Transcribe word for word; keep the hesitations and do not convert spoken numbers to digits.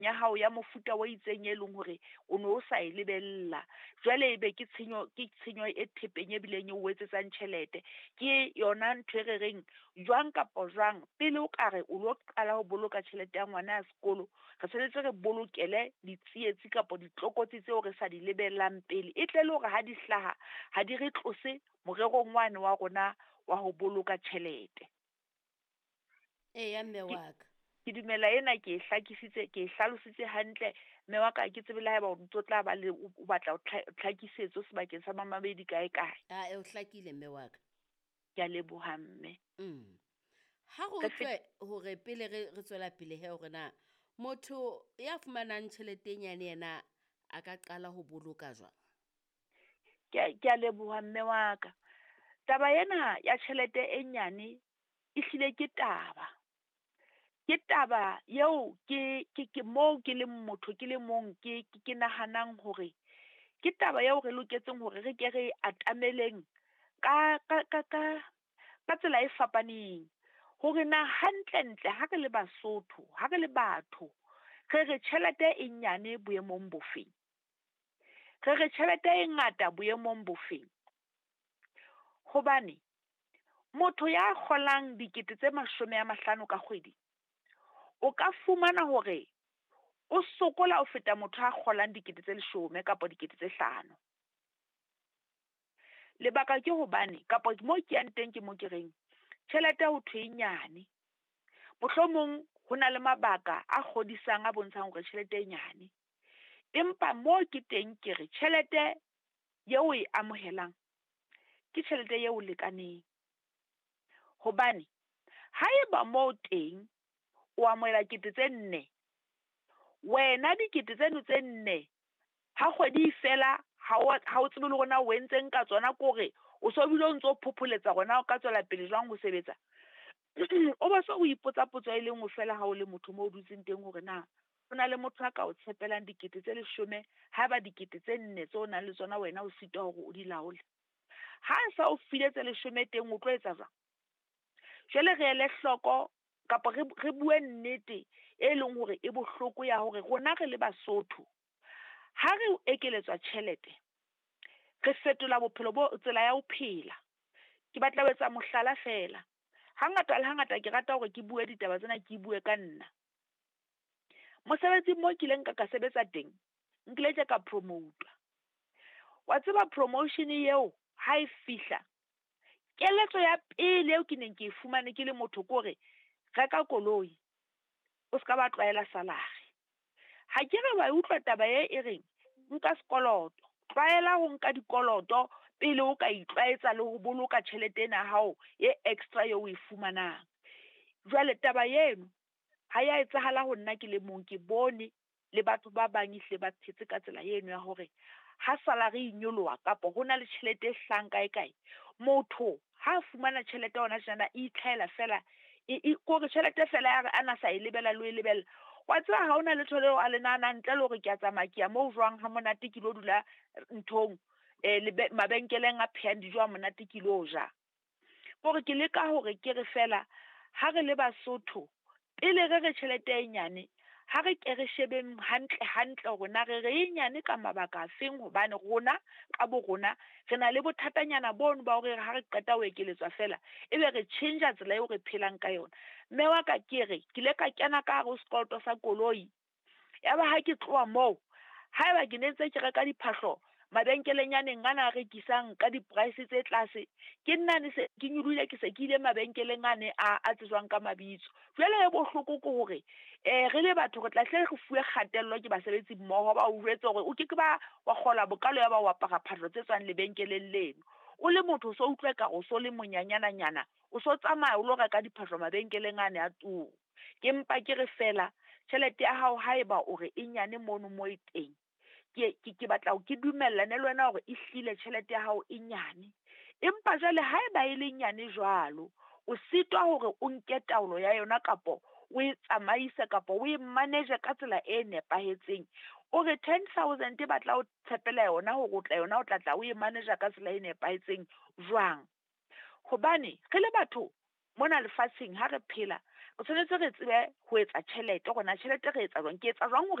ya hao ya mofuta o itseng e leng hore o no o sa e lebella. Jwale ebe ke tshenyo ke tshenyo e thepeng e bileng e o etsetsang tjhelete. Ke yona ntho e re reng jwang kapa jwang pele o ka re o lo qala ho boloka tjhelete ya ngwana ya sekolo, re tshwanetse re bolokele ditsietsi kapa ditlokotsi tseo re sa di lebellang pele. E tle le hore ha di hlaha, ha di re tlose morerong wane wa rona wa ho boloka tjhelete. Eya mme Ke wa ka. ke dumela ena ke e hlakisitse, ke e hlalositse hantle. Mme wa ka ha ke tsebe le haeba o ntso tla ba le o o batla tlhakisetso sebakeng sa mamamedi kae kae. Ae, o hlakile mme wa ka. Ke a leboha mme. Mm. Ha re Re fet utlwe hore pele re re tswela pele he hore na motho ya fumanang tjhelete e nyane yena a ka qala ho boloka jwang? Ke a ke a leboha mme wa ka. Taba ena ya tjhelete e nyane ehlile ke taba. Ke taba eo ke ke ke moo ke leng motho ke le mong ke ke nahanang hore ke taba eo re loketseng hore re ke re atameleng ka ka ka ka ka tsela e fapaneng. Hore na hantlentle ha re le Basotho, ha re le batho, re re tjhelete e nyane boemong bofeng? Re re tjhelete e ngata boemong bofeng? Hobane motho ya kgolang dikete tse mashome a mahlano ka kgwedi, o ka fumana hore o sokola ho feta motho a kgolang dikete tse leshome kapa dikete tse hlano. Lebaka ke hobane kapa mo ke yang teng ke mo ke reng, tjhelete ho thwe e nyane. Mohlomong ho na le mabaka a kgodisang a bontshang hore tjhelete e nyane. Empa mo ke teng ke re tjhelete eo o e amohelang ke tjhelete eo lekaneng. Hobane haeba moo teng o amohela kete tse nne, wena dikete tseno tse nne ha kgwedi e fela ha o ha o tsebe le hore na o entseng ka tsona ke hore o so bile o ntso phopholetsa hore na o ka tswela pele jwang ho sebetsa. O bo so o ipotsa potso e le nngwe fela ha o le motho moo o dutseng teng hore na ho na le motho a ka o tshepelang dikete tse leshome haeba dikete tse nne tseo o nang le tsona wena o sitwa hore o di laole. Ha sa o file tse leshome teng o tlo etsa jwang? Jwale re ele hloko kapa re re bue nnete e leng hore e bohloko ya hore rona re le Basotho ha re ekeletswa tjhelete, re fetola bophelo bo tsela ya ho phela. Ke batla ho etsa mohlala fela. Hangata le hangata ke rata hore ke bue ditaba tsena ke bue ka nna. Mosebetsing moo kileng ka ka sebetsa teng, nkile ka promote-wa. Wa tseba promotion eo ha e fihla, keletso ya pele eo ke neng ke e fumane ke le motho ke hore reka koloi, o ska ba tlwaela salary. Ha ke re wa e utlwa taba e e reng nka sekoloto, tlwaela ho nka dikoloto pele o ka itlwaetsa le ho boloka tjhelete ena ya hao e extra eo o e fumanang. Jwale taba eno ha ya etsahala ho nna ke le mong, ke bone le batho ba bang ehlile ba phetse ka tsela eno ya hore ha salary e nyoloha kapa ho na le tjhelete e hlahang kae kae, motho ha a fumana tjhelete hona tjenana e itlhahela fela e e kore tjhelete fela ya re ana sa e lebella le ho e lebella. Wa tseba ha hona letho leo a le nahanang ntle le hore ke a tsamaya ke ya moo jwang ha monate ke lo dula nthong mabenkeleng a phehang dijo ha monate ke lo ja. Kore ke leka hore ke re fela ha re le Basotho pele re re tjhelete e nyane, ha re ke re shebeng hantle hantle hore na re re e nyane ka mabaka a feng hobane rona ka bo rona re na le bothatanyana bono ba hore ha re qeta ho ekeletswa fela ebe re tjhentjha tsela eo re phelang ka yona. Mme wa ka ke re ke ile ka kena ka hare ho sekoloto sa koloi. Yaba ha ke tloha moo, haeba ke ne ntse ke reka diphahlo mabenkeleng yaneng ana a rekisang ka di-price tse tlase, ke nna se ke nyolohile ke se ke ile mabenkeleng ane a a tsejwang ka mabitso. Jwale e bohloko ke hore re le batho re tla hle re fuwe kgatello ke basebetsi mmoho ba o jwetse hore o ke ke ba wa kgola bokalo ya ba o apara phahlo tse tswang lebenkeleng leno. O le motho o so utlwa ekare o so le monyanyananyana, o so tsamaya o lo reka diphahlo mabenkeleng ane a turu. Ke mpa ke re fela tjhelete ya hao haeba o re e nyane mono mo e teng, ke ke ke batla ke dumellane le wena hore ehlile tjhelete ya hao e nyane. Empa jwale haeba e le nyane jwalo, o sitwa hore o nke taolo ya yona kapo o e tsamaise kapa o e manage ka tsela e nepahetseng. O re ten thousand ba tla o tshepela yona hore o tla yona o tla tla o e manage ka tsela e nepahetseng jwang? Hobane re le batho mona lefatsheng ha re phela, O tshwanetse re tsebe ho etsa tjhelete hore na tjhelete re etsa jwang. Ke etsa jwang hore